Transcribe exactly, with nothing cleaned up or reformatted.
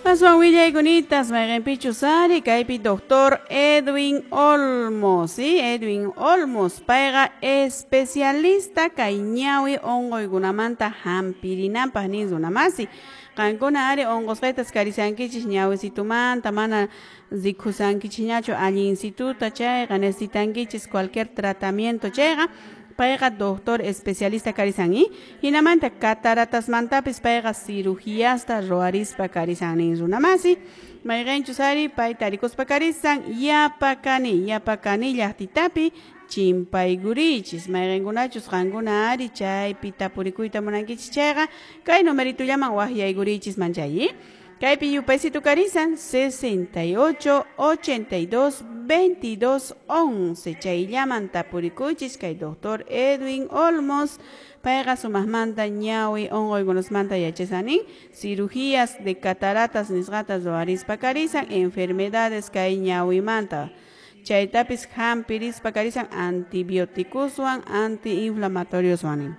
Aswan willaykunitas mayqinpichus ari kaypi doctor Edwin Olmos, ¿sí? Edwin Olmos payqa especialista kay ñawi unquykunamanta hampirinanpaq nin runamasi. Qankuna ari unqusqaytas karisankichis ñawisitumanta mana rikusankichikñachu allinsituta chayqa necesitankichis cualquier tratamiento chayqa payqa doctor especialista karisan y hinamanta cataratasmantapis payqa cirugiasta ruwarispa karisan nin runamasi. Mayqinchus ari payta rikuspa karisan yapakani yapakani llaqtitapi chimpaykurichis mayqinkunachus qankuna ari chaypi tapurikuyta munankichis chayqa kay numeritullaman waqyaykurichis manchay. Kaypi yupaysitu karisan sesenta y ocho, ochenta y dos, veintidós, once chayllaman tapurikuychis kay doctor Edwin Olmos payqa sumaqmanta ñawi unquykunasmanta yachasanin cirugías de cataratas nisqata ruwarispa karisan enfermedades kay ñawimanta chaytapis hampirispa karisan antibióticoswan antiinflamatorioswan.